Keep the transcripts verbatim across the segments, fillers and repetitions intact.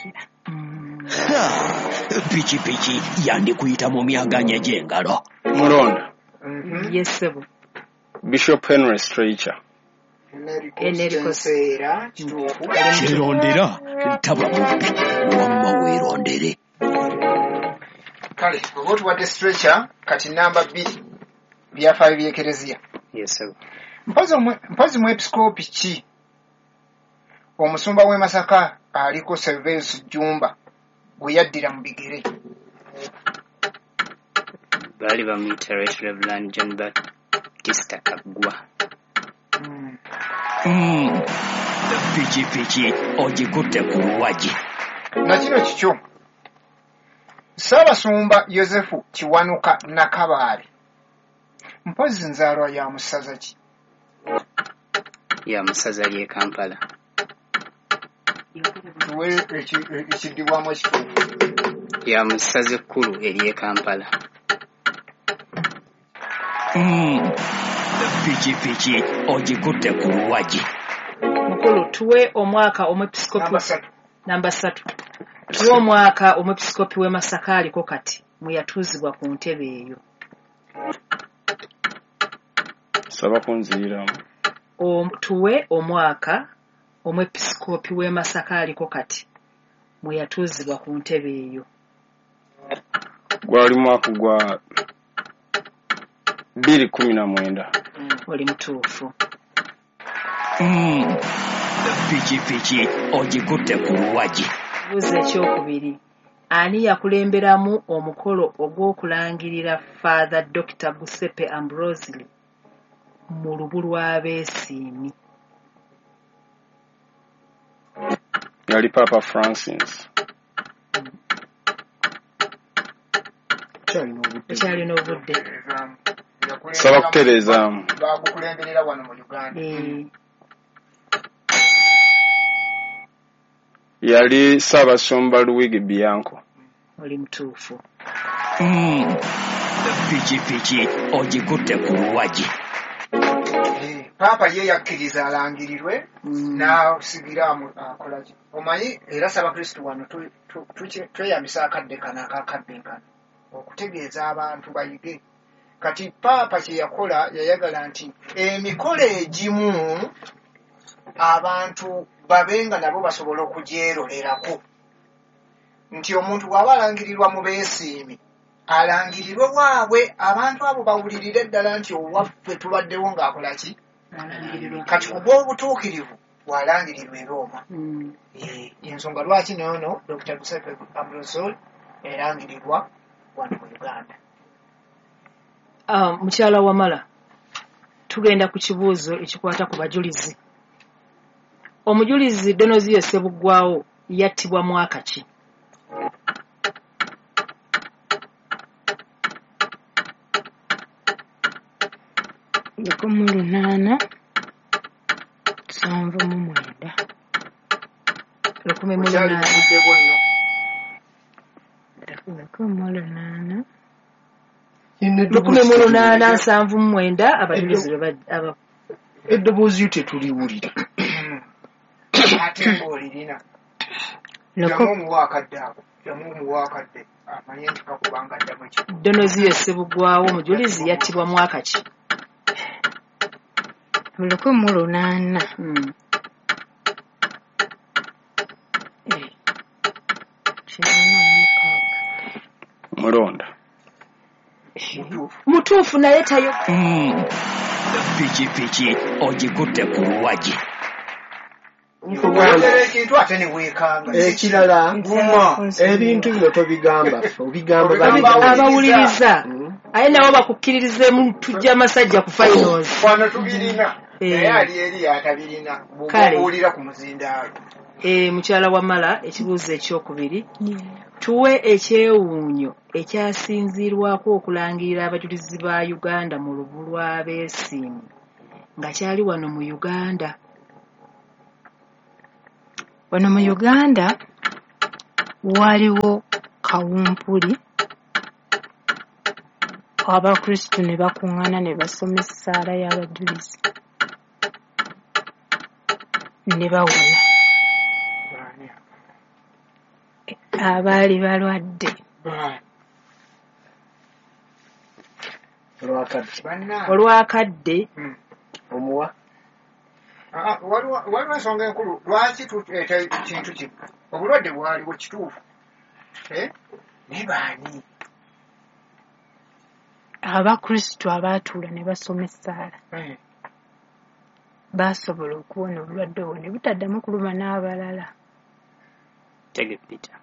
Sijjukira. Ha! Pikipiki yandikuyita mu myaganya gy'engalo. Mulonda. Yes, ssebo. Bishop Henry Streicher. Enrico Nseera kituufu. Kyerondera taba mubbi, wamma weerondere. Kale oba otuwadde stretcher, kati namba bbiri, byafaayo by'ekereziya. Yes, ssebo. Mpozi omwe- mpozi mwepisikoopi ki omusumba w'e Masaka aliko Servais Jjumba gwe yaddira mu bigere? Baali bamuyita Right Reverend John Baptista Kaggwa. Mm. Mm. Pikipiki ogikutte ku luwagi. Na kino kikyo, Ssaabasumba Yozefu Kiwanuka Nakabaale mpozi nzaalwa ya mu ssaza ki? Ya mu ssaza ly'e Kampala. Tuwe eki- ekiddibwamu ekituufu. Ya mu ssaza ekkulu ery'e Kampala. Mm. Pikipiki ogikutte ku luwagi. Mukulu, tuwe omwaka omwepisikoopi Namba ssatu. Namba ssatu. Tuwe omwaka omwepisikoopi w'e Masaka aliko kati mwe yatuuzibwa ku ntebe eyo. Saba kunziyiramu. Om- tuwe omwaka omwepisikoopi w'e Masaka aliko kati mwe yatuuzibwa ku ntebe eyo. Gwali mwaka gwa bbiri kumi na mwenda. Oli mutuufu. Mm. Pikipiki ogikutte ku luwagi. Ekibuuzo ekyokubiri, ani yakulemberamu omukolo ogw'okulangirira Father Doctor Giuseppe Ambrosoli mu lubu lw'abeesiimi? Yali Papa Francis. Kyalina obudde. Kyalina obudde. Saba kutereezaamu. Bagukulemberera wano mu Uganda. Eh, Yali Ssaabasumba Luigi Bianco. Oli mutuufu. Mm. Pikipiki ogikutte ku luwagi. Eh, Paapa ye yakkiriza alangirirwe Mm. n'asigira amu- akola ki? Omanyi era Ssaabakristu wano tu- tu- tuki- tweyambisa akadde kano akakabbinkano okutegeeza abantu bayige. Kati Paapa kye yakola, yayagala nti emikolo egimu abantu babe nga nabo basobola okugyerolerako, nti omuntu bw'aba alangirirwa mu beesiimi alangirirwe waabwe, abantu abo bawulirire ddala nti owaffe tubaddewo ng'akola ki. Alangirirwa. Kati ku bw'obutuukirivu bw'alangirirwa e Rooma. Mm. Eh, ensonga lwaki noono Doctor Giuseppe Ambrosoli erangirirwa wano mu Uganda. Ah, mukyala Wamala, tugenda ku kibuuzo ekikwata ku bajulizi. Omujulizi Donoziyo Ssebuggwawo yattibwa mwaka ki? Lukumi mu lunaana nsanvu mu mwenda. Lukumi mu Okyali lunaana. mu budde bwo nno. Lukumi mu lunaana. Lukumi mu lunaana nsanvu mu mwenda abajulizi lwe ba- aba- Eddoboozi lyo tetuliwulira. Ate ng'olirina. Luku- Ddamu omuwa akadde ako, ddamu omuwa akadde amanye nti kakubanga ddamu ekyo. Donoziyo Ssebuggwawo omujulizi yattibwa mwaka ki? Lukumi mu lunaana. Mm. Eh, kinaana mu mukaaga. Mulonda. Mutuufu. Mutuufu naye tayo. Mm. Pikipiki ogikutte ku luwagi. Oyogera ekintu ate ne weekanga. Ekirala, Guma. ebintu bino tobigamba ffe, obigamba Obigamba bali. Abawuliriza. Mm. Aye nabo bakukkiririzeemu tujja masajja ku finals. Wano tubirina. Eh. Naye ali eri atabirina. Bw'oba Kale. obuulira ku muzindaalo. Eh, mukyala Wamala, ekibuuzo ekyokubiri, tuwe ekyewuunyo ekyasinziirwako okulangirira abajulizi ba Uganda mu lubu lw'abeesiimi nga kyali wano mu Uganda. Wano mu Uganda waliwo kawumpuli, Abakristu ne bakuŋŋaana ne basoma essaala y'abajulizi ne bawona. Baani abo? Abaali balwadde. Ba- Olwakadde. Bannange. Olwakadde. Mm. Omuwa. Ah, ah, waliwo waliwo ensonga enkulu lwaki tuleeta kintu kino. Obulwadde bwaliwo kituufu. Eh? Naye baani? Abakristu abaatuula ne basoma essaala Eh, baasobola okuwona obulwadde obwo ne butaddamu kuluma n'abalala. Tege Peter.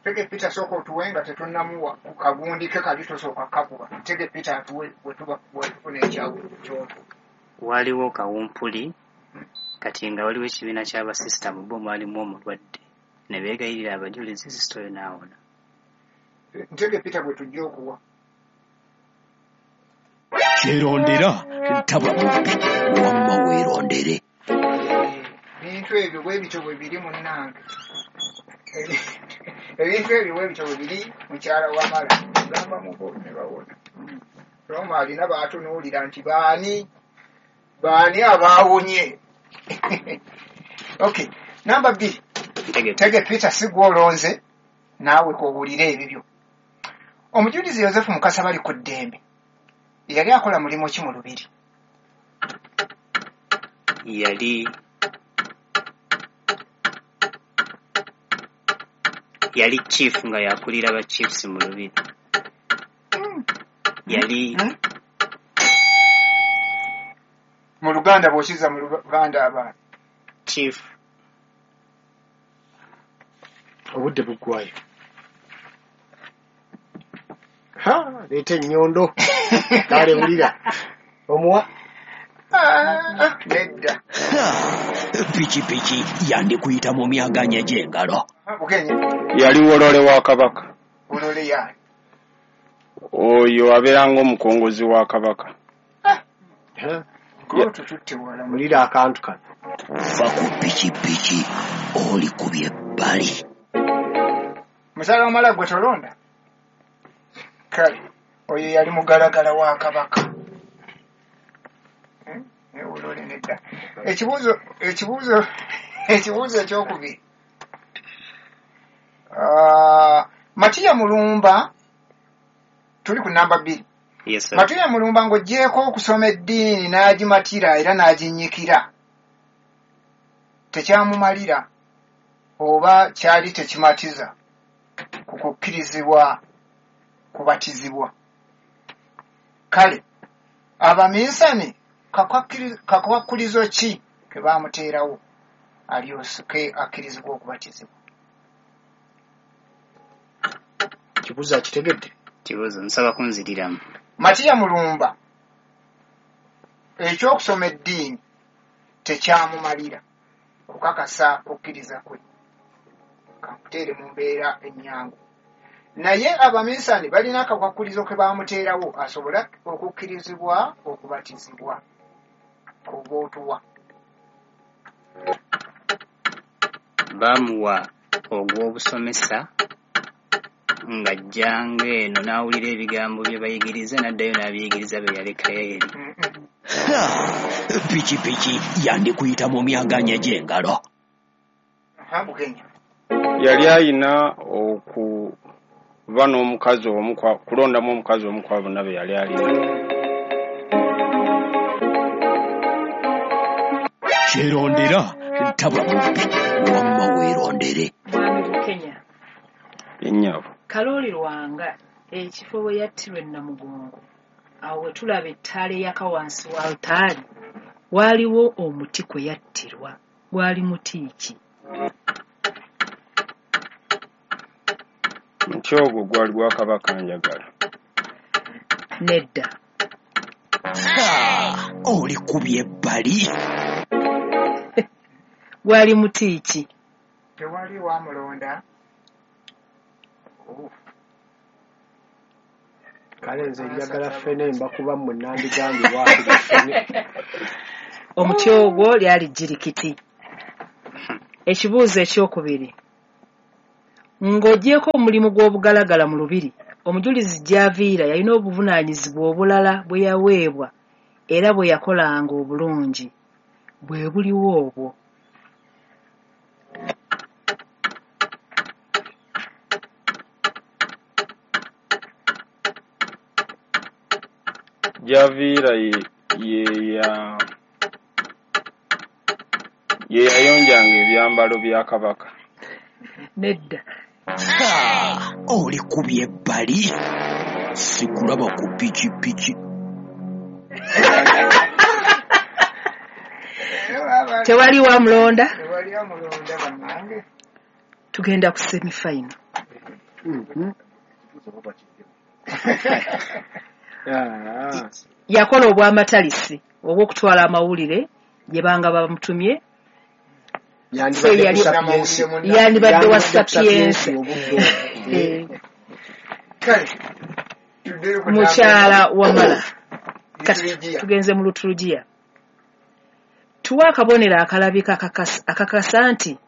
Tege Peter sooka otuwe nga tetunnamuwa ku kagundi ke kali tosooka kakuba. Tege Peter atuwe bwe tuba bwe tufuna ekyawo kyoto. Waaliwo kawumpuli kati nga waliwo ekibiina ky'abasisita mu bo mwalimu omulwadde ne beegayirira abajulizi sisita oyo n'awona. Ntege Peter gwe tujja okuwa. Kyerondera taba mubbi wamma weerondere. Ebintu ebyo bwe bityo bwe biri munnange. Ebintu ebyo bwe bityo bwe biri mukyala wamala. Gamba mubo ne bawona. Roma alina baatunuulira nti baani baani abaawonye. Okay, namba bbiri. Ntege Tege Peter si gw'olonze naawe k'obuulire ebibyo. Omujulizi Yozefu Mukasa bali ku ddembe. Yali akola mulimu ki mu lubiri? Yali yali chief nga yakulira ba chiefs mu lubiri. Yali Hmm? Mu Luganda bw'okizza mu Luganda abaana. Chief Obudde buggwayo. Ha, leeta ennyondo. Kale wulira. Omuwa. Ah, nedda. Pikipiki yandikuyita mu myaganya gy'engalo. Bukenya Yali wolole wa Kabaka. Wolole yaani? Oyo abeera ng'omukongozi wa Kabaka. Ha, Gwe tututte wala mu wulira akantu kano. Va ku pikipiki olikubye ebbali. Mukyala wamala gwe tolonda? Kale oyo yali mugalagala wa Kabaka. Eh, naye wolole nedda. Ekibuuzo ekibuuzo ekibuuzo ekyokubiri. Ah, Matiya Mulumba tuli ku namba bbiri. Yes sir. Matiya Mulumba ng'oggyeeko okusoma eddiini n'agimatira era n'aginnyikira. Tekyamumalira oba kyali tekimatiza ku kukkirizibwa kubatizibwa. Kale abaminsani kakwakkirizo ki ke baamuteerawo alyoke akkirizibwa okubatizibwa? Kibuuzo akitegedde. Kibuuzo nsaba kunziriramu. Matiya Mulumba ekyokusoma eddiini tekyamumalira kukakasa kukkiriza kwe. Kankuteere mu mbeera ennyangu. Naye abaminsani balina akakwakulizo ke baamuteerawo asobole okukkirizibwa okubatizibwa. Oba otuwa. Baamuwa ogw'obusomesa ng'ajjanga eno n'awulira ebigambo bye bayigiriza n'addayo n'abiyigiriza be yalekayo eri. Mm-mm. Ha, pikipiki yandikuyita mu myaganya gy'engalo. Aha, Bukenya. Yali ayina okuba n'omukazi omu kwa- kulondamu omukazi omu kwa bonna be yali alina. Kyerondera taba mubbi wamma weerondere. Mwami Bukenya. Ennyabo. Kalooli Lwanga ekifo we yattirwa e Namugongo awo we tulaba ettaala eyaka wansi wa alutaari waaliwo omuti kwe yattirwa gwali muti ki? Nti ogwo gwali gwa Kabaka Njagala. Nedda. Ha, olikubye ebbali. Gwali muti ki? Tewali wamulonda. Oh. Kale nze njagala ffene mbakuba mmwe nandigambye waakiri ffene. Omuti ogwo lyali jjirikiti. Ekibuuzo ekyokubiri. Ng'oggyeeko omulimu gw'obugalagala mu lubiri, omujulizi Gyaviira yalina obuvunaanyizibwa obulala bwe yaweebwa era bwe yakolanga obulungi. Bwe buliwo obwo? Gyaviira ye ye ya ye yayonjanga ebyambalo bya Kabaka. Nedda. Ha! Olikubye ebbali, sikulaba ku pikipiki. Tewali wamulonda. Tewali amulonda bannange. Tugenda ku semifinal. Mhm. Ah. Yakola obwamatalisi obw'okutwala amawulire gye banga bamutumye. So Yandibadde yali ku Sapiensi. yandibadde wa Yandibadde ku Sapiensi. Sapiensi obudde obwo. Eh, Kale tuddeyo ku mukyala Wamala, kati Liturujia. tugenze mu lutulugiya. Tuwe akabonero akalabika akakas- akakasa nti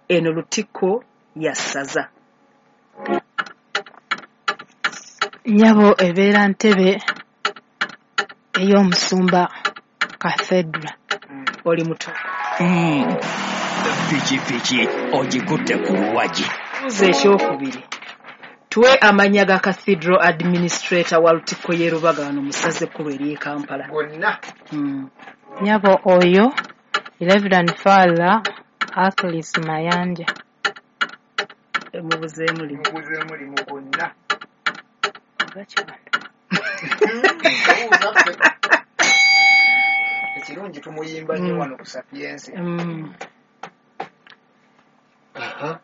eno lutikko ya ssaza. Nnyabo, ebeera ntebe ey'omusumba cathedra. Oli muto. Mm. Pikipiki ogikutte ku luwagi. Buuza ekyokubiri, tuwe amannya ga cathedral administrator wa lutikko y'e Rubaga wano mu ssaza ekkulu ery'e Kampala. Gonna. Mm. Nnyabo, oyo Reverend Father Achilles Mayanja. Mubuzeemu limu. Mubuzeemu limu gonna. Oba kibano. Buuza ffe. Ekirungi tumuyimba nnyo Mm. wano ku Sapiensi. Mm. Aha.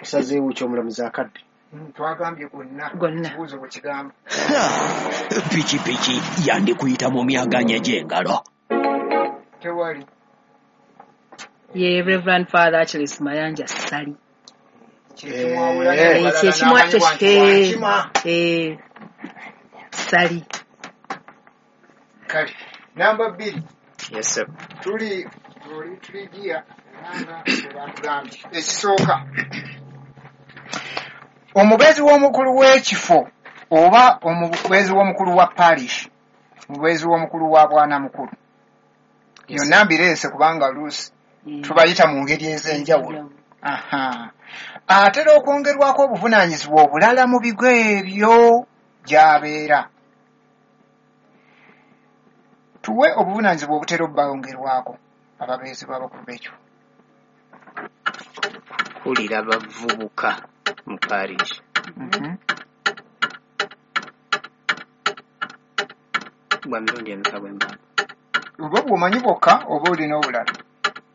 Osazeewo ky'omulamuzi akadde. Mm, twagambye gonna. Gonna. Ekibuuzo bwe kigamba. Ha! Pikipiki yandikuyita mu myaganya gy'engalo. Tewali. Ye Reverend Father Achilles Mayanja Ssali. Kyekimwawula Eh. n'abalala Kyekimwa n'amanyibwa nti wankima. eh, Ssali. Kale namba bbiri. Yes, sir. Tuli liturujia era nga bwe batugambye. Ekisooka, omubeezi w'omukulu w'ekifo oba omubeezi w'omukulu wa parish, omubeezi w'omukulu wa bwanamukulu, yonna mbireese kubanga luusi Mm. tubayita mu ngeri ez'enjawulo. Aha, atera okwongerwako obuvunaanyizibwa obulala mu bigo ebyo gy'abeera. Tuwe obuvunaanyizibwa obutera obbawongerwako ababeezi b'abakulu b'ekifo. Kulira bavubuka mu parish. Mhm. Bwa mirundi emeka bwe mbamba? Oba bw'omanyi bwokka oba olina obulala?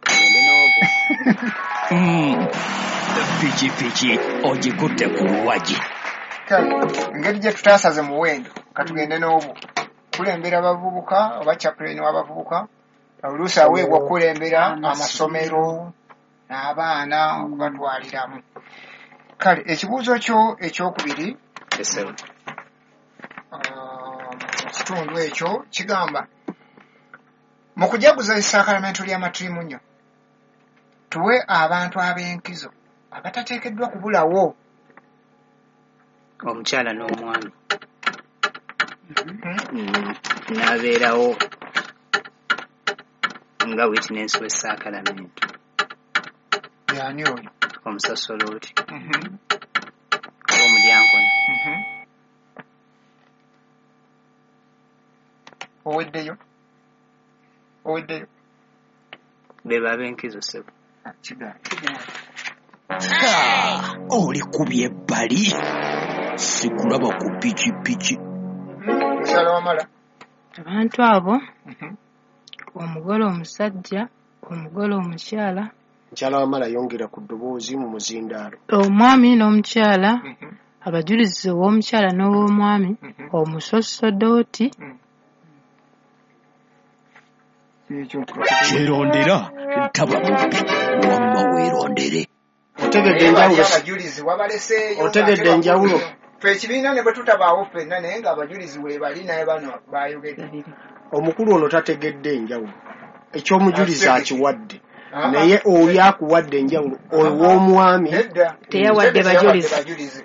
Tugende n'obwo. Mm. Pikipiki ogikutte ku luwagi. Kale engeri gye tutaasaze muwendo, katugende n'obwo. Kulembera bavubuka oba chaplain w'abavubuka, oluusi aweebwa okukulembera amasomero n'abaana okubatwaliramu. Kale ekibuuzo kyo ekyokubiri, Yes, sir. ah, mu kitundu ekyo kigamba, mu kujaguza essaakalamentu ly'amatirimunyo, tuwe abantu ab'enkizo abatateekeddwa kubulawo. Omukyala n'omwami. Mhm. Mm, n'abeerawo nga witness w'essaakalamentu. Yaani oyo? Omusasolooti Mhm. oba omudyankoni. Mhm. Oweddeyo, oweddeyo. Be bab'enkizo, ssebo. Ah, kigaana. Ha! Olikubye ebbali, sikulaba ku pikipiki. Mukyala Wamala. Abantu abo, Mhm. omugole omusajja, omugole omukyala, Mukyala Wamala, yongera ku ddoboozi mu muzindaalo. Omwami n'omukyala, Mhm. abajulizi ow'omukyala n'ow'omwami, Mhm. omusosodooti. Ekyo. Kyerondera taba mubbi, wamma weerondere. Otegedde Naye bali enjawulo? abajulizi wabaleseeyo. Otegedde ng'ate enjawulo? bakulu nnyo. Ffe ekibiina ne bwe tutabaawo ffenna, naye ng'abajulizi weebali, naye bano bayogedde. Omukulu ono tategedde enjawulo. Ekyomujulizi Ategedde. akiwadde, Ah, naye oli akuwadde enjawulo ow'omwami. Nedda. Teyawadde Teyawadde bajulizi. bajulizi.